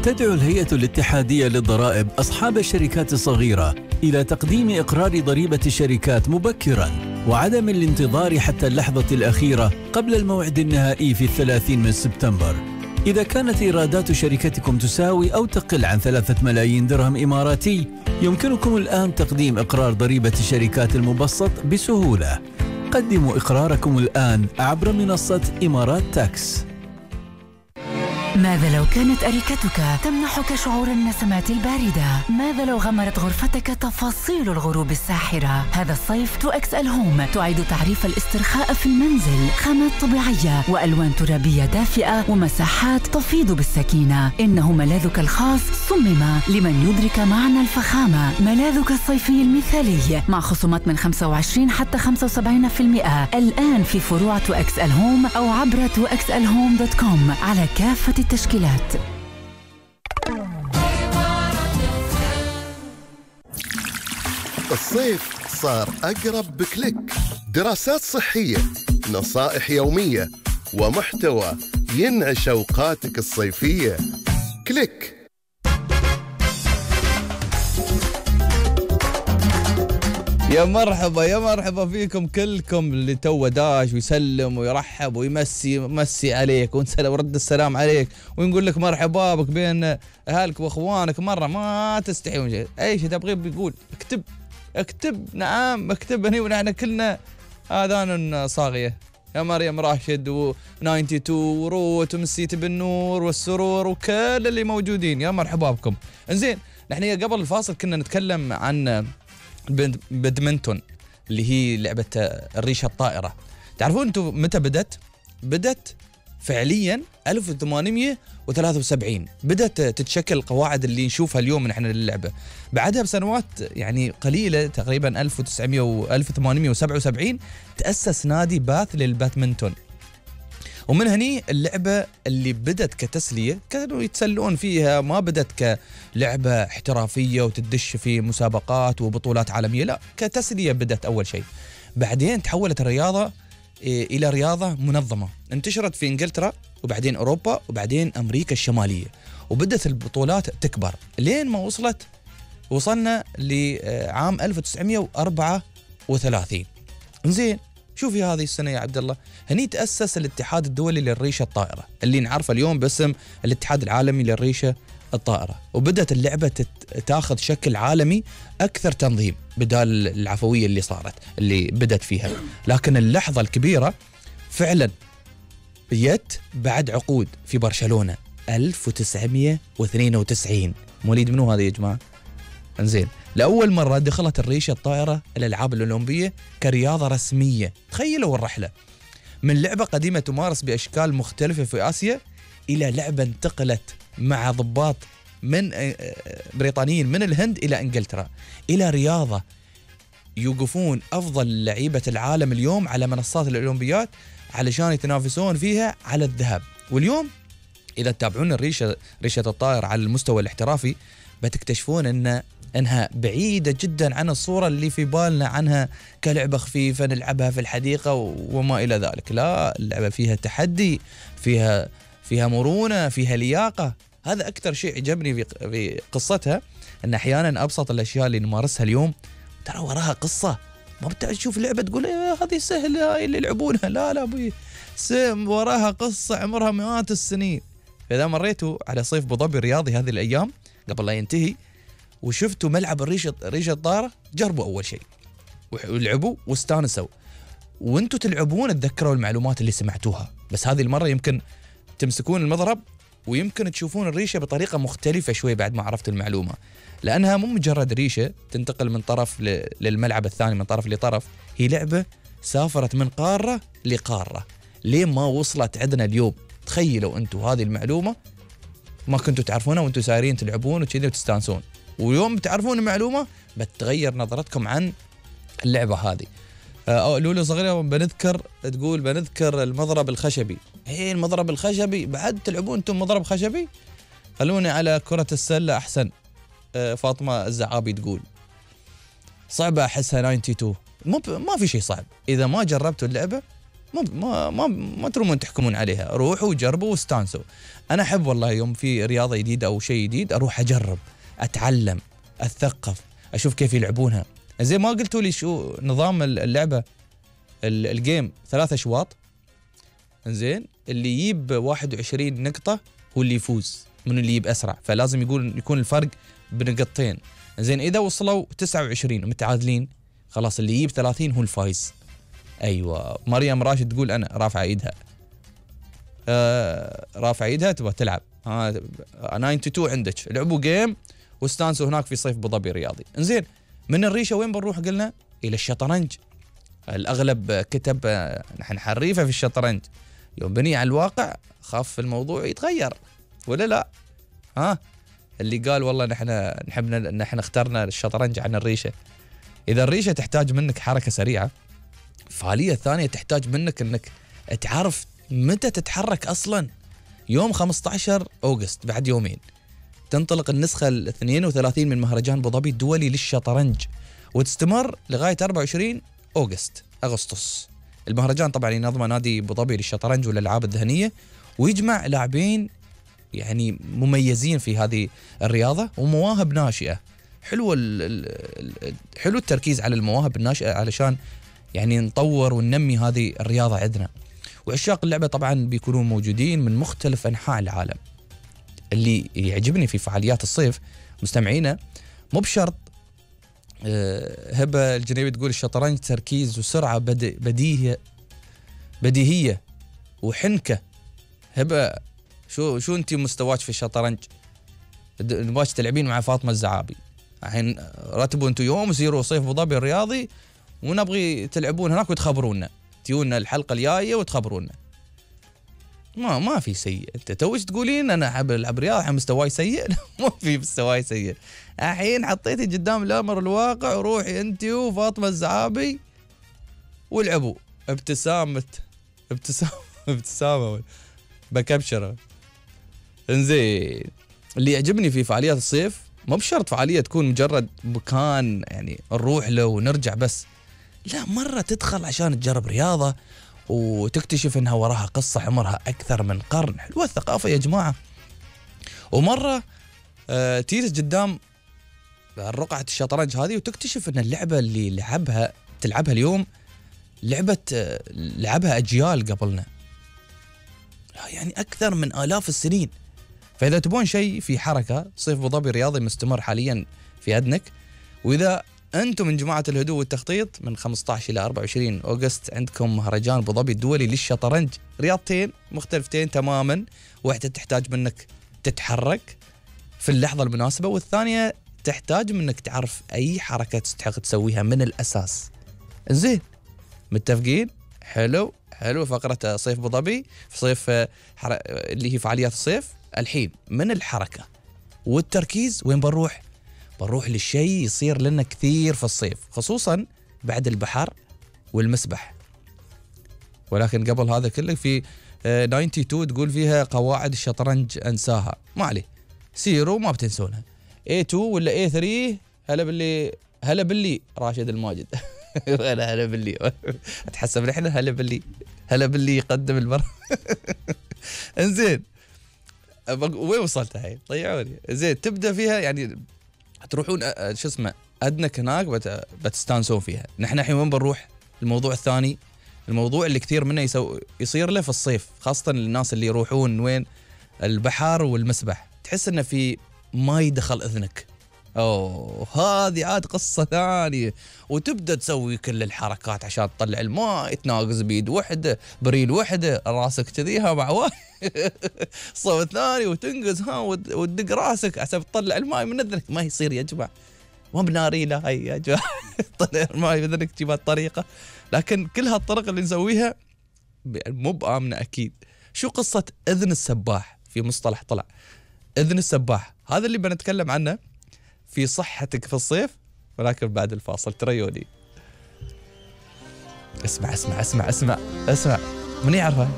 تدعو الهيئة الاتحادية للضرائب أصحاب الشركات الصغيرة إلى تقديم إقرار ضريبة الشركات مبكراً وعدم الانتظار حتى اللحظة الأخيرة قبل الموعد النهائي في 30 سبتمبر. إذا كانت إيرادات شركتكم تساوي أو تقل عن 3 ملايين درهم إماراتي، يمكنكم الآن تقديم إقرار ضريبة الشركات المبسط بسهولة. قدموا إقراركم الآن عبر منصة إمارات تاكس. ماذا لو كانت أريكتك تمنحك شعور النسمات الباردة؟ ماذا لو غمرت غرفتك تفاصيل الغروب الساحرة؟ هذا الصيف 2XL هوم تعيد تعريف الاسترخاء في المنزل، خامات طبيعية وألوان ترابية دافئة ومساحات تفيض بالسكينة. إنه ملاذك الخاص صمم لمن يدرك معنى الفخامة. ملاذك الصيفي المثالي مع خصومات من 25 حتى 75% الآن في فروع 2XL هوم أو عبر 2XLhome.com على كافة التشكيلات. الصيف صار أقرب بكليك. دراسات صحية، نصائح يومية، ومحتوى ينعش أوقاتك الصيفية. كليك. يا مرحبا فيكم كلكم اللي تو داش ويسلم ويرحب ويمسي عليك ورد السلام عليك ونقول لك مرحبا بك بين اهلك واخوانك. مره ما تستحي من شيء، اي شيء تبغيه بيقول اكتب نعم اكتب هني ونحن كلنا اذان صاغيه. يا مريم راشد و92 وروت ومسيت بالنور والسرور وكل اللي موجودين، يا مرحبا بكم. انزين، نحن قبل الفاصل كنا نتكلم عن بدمنتون اللي هي لعبة الريشة الطائرة. تعرفون انتم متى بدت فعليا 1873 بدت تتشكل القواعد اللي نشوفها اليوم نحن للعبة. بعدها بسنوات يعني قليلة تقريبا 1877 تأسس نادي باث للبادمنتون، ومن هني اللعبة اللي بدت كتسلية كانوا يتسلون فيها، ما بدت كلعبة احترافية وتدش في مسابقات وبطولات عالمية، لا كتسلية بدت أول شيء. بعدين تحولت الرياضة إلى رياضة منظمة، انتشرت في إنجلترا وبعدين أوروبا وبعدين أمريكا الشمالية، وبدت البطولات تكبر لين ما وصلنا لعام 1934. انزين، شوفي هذه السنة يا عبد الله، هني تأسس الاتحاد الدولي للريشة الطائرة اللي نعرفه اليوم باسم الاتحاد العالمي للريشة الطائرة، وبدت اللعبة تاخذ شكل عالمي أكثر تنظيم بدال العفوية اللي بدت فيها. لكن اللحظة الكبيرة فعلا جت بعد عقود في برشلونة 1992. مواليد منو هذا يا جماعة؟ انزين، لأول مرة دخلت الريشة الطائرة الألعاب الأولمبية كرياضة رسمية. تخيلوا الرحلة من لعبة قديمة تمارس بأشكال مختلفة في آسيا إلى لعبة انتقلت مع ضباط من بريطانيين من الهند إلى إنجلترا، إلى رياضة يوقفون أفضل لعيبة العالم اليوم على منصات الأولمبيات علشان يتنافسون فيها على الذهب. واليوم إذا تتابعون ريشة الطائرة على المستوى الاحترافي بتكتشفون أنها بعيدة جدا عن الصورة اللي في بالنا عنها كلعبة خفيفة نلعبها في الحديقة وما إلى ذلك. لا، اللعبة فيها تحدي، فيها مرونة، فيها لياقة. هذا أكثر شيء عجبني في قصتها، أن أحيانا أبسط الأشياء اللي نمارسها اليوم ترى وراها قصة. ما بتشوف لعبة تقول هذه سهلة هاي اللي يلعبونها، لا أبوي، وراها قصة عمرها مئات السنين. فإذا مريتوا على صيف أبو ظبي الرياضي هذه الأيام قبل لا ينتهي وشفتوا ملعب ريشة الطائرة، جربوا أول شيء ولعبوا واستانسوا، وانتوا تلعبون تذكروا المعلومات اللي سمعتوها. بس هذه المرة يمكن تمسكون المضرب ويمكن تشوفون الريشة بطريقة مختلفة شوي بعد ما عرفت المعلومة، لأنها مو مجرد ريشة تنتقل من طرف للملعب الثاني من طرف لطرف، هي لعبة سافرت من قارة لقارة ليه ما وصلت عندنا اليوم. تخيلوا انتوا هذه المعلومة ما كنتوا تعرفونها وانتوا سايرين تلعبون وكذا وتستانسون، ويوم تعرفون المعلومة بتغير نظرتكم عن اللعبة هذه. لولو صغيرة بنذكر المضرب الخشبي. المضرب الخشبي بعد تلعبون انتم مضرب خشبي؟ خلوني على كرة السلة أحسن. فاطمة الزعابي تقول صعبة أحسها 92. ما في شيء صعب إذا ما جربتوا اللعبة ما ترومون تحكمون عليها، روحوا وجربوا واستانسوا. انا احب والله يوم في رياضه جديده او شيء جديد اروح اجرب، اتعلم، اتثقف، اشوف كيف يلعبونها. زي ما قلتوا لي شو نظام اللعبه الجيم 3 أشواط، زين اللي يجيب 21 نقطه هو اللي يفوز، من اللي يجيب اسرع، فلازم يكون الفرق بنقطتين. زين اذا وصلوا 29 متعادلين خلاص اللي يجيب 30 هو الفايز. ايوه مريم راشد تقول انا رافعه ايدها، رافعه ايدها تبغى تلعب. 92 عندك، لعبوا جيم واستانسوا هناك في صيف ابو ظبي الرياضي. انزين من الريشه وين بنروح؟ قلنا الى الشطرنج. الاغلب كتب نحن حريفه في الشطرنج، يوم بني على الواقع خاف الموضوع يتغير ولا لا؟ اللي قال والله نحن اخترنا الشطرنج عن الريشه. اذا الريشه تحتاج منك حركه سريعه، الفعاليه الثانيه تحتاج منك انك تعرف متى تتحرك اصلا. يوم 15 أغسطس بعد يومين تنطلق النسخه 32 من مهرجان ابو ظبي الدولي للشطرنج، وتستمر لغايه 24 أغسطس. المهرجان طبعا ينظمه نادي ابو ظبي للشطرنج والالعاب الذهنيه، ويجمع لاعبين يعني مميزين في هذه الرياضه ومواهب ناشئه. حلو التركيز على المواهب الناشئه علشان يعني نطور وننمي هذه الرياضه عندنا. وعشاق اللعبه طبعا بيكونون موجودين من مختلف انحاء العالم. اللي يعجبني في فعاليات الصيف مستمعينا مو بشرط. هبه الجنيبي تقول الشطرنج تركيز وسرعه بديهيه وحنكه. هبه شو انت مستواك في الشطرنج؟ نباش تلعبين مع فاطمه الزعابي الحين، رتبوا انتم يوم وسيروا صيف ابو ظبي الرياضي ونبغي تلعبون هناك وتخبرونا، تيونا الحلقه الجايه وتخبرونا. ما في سيء. انت توش تقولين انا احب العب رياضه مستواي سيء؟ ما في مستواي سيء. الحين حطيتي قدام الامر الواقع، روحي انت وفاطمه الزعابي والعبوا. ابتسامه بكبشره. انزين اللي يعجبني في فعاليات الصيف مو بشرط فعاليه تكون مجرد مكان يعني نروح له ونرجع بس، لا مرة تدخل عشان تجرب رياضة وتكتشف انها وراها قصة عمرها اكثر من قرن. حلوة الثقافة يا جماعة. ومرة تجلس قدام رقعة الشطرنج هذه وتكتشف ان اللعبة اللي تلعبها اليوم لعبها اجيال قبلنا، يعني اكثر من آلاف السنين. فاذا تبون شيء في حركة، صيف ابو ظبي الرياضي مستمر حاليا في أدنك. واذا أنتم من جماعة الهدوء والتخطيط من 15 إلى 24 أغسطس عندكم مهرجان ابو ظبي الدولي للشطرنج. رياضتين مختلفتين تماما، واحدة تحتاج منك تتحرك في اللحظة المناسبة، والثانية تحتاج منك تعرف أي حركة تستحق تسويها من الأساس. زين متفقين؟ حلو فقرة صيف ابو ظبي في صيف اللي هي فعاليات الصيف. الحين من الحركة والتركيز وين بنروح للشيء يصير لنا كثير في الصيف، خصوصا بعد البحر والمسبح. ولكن قبل هذا كله في 92 تقول فيها قواعد الشطرنج انساها. ما عليه، سيروا ما بتنسونها. A2 ولا A3. هلا باللي راشد الماجد. هلا باللي اتحسب نحن هلا باللي يقدم المرة. انزين وين وصلت هاي؟ طيعوني. زين تبدا فيها يعني تروحون شو اسمه أدنك هناك بتستانسون فيها. نحن الحين وين بنروح؟ الموضوع الثاني، الموضوع اللي كثير منه يصير له في الصيف، خاصة الناس اللي يروحون وين البحر والمسبح، تحس انه في ما يدخل اذنك. هذه عاد قصة ثانية، وتبدأ تسوي كل الحركات عشان تطلع الماء، تناقز بيد وحدة بريل وحدة، راسك كذيها مع واحد صوت ثاني وتنقز وتدق راسك عشان تطلع الماء من اذنك. ما يصير يا جماعة، ما بناري لا هي يا جماعة. طلع الماء من اذنك تجيب هالطريقة. لكن كل هالطرق اللي نسويها مو بآمنة أكيد. شو قصة إذن السباح؟ في مصطلح طلع إذن السباح، هذا اللي بنتكلم عنه في صحتك في الصيف، ولكن بعد الفاصل. تريوني اسمع من يعرفه؟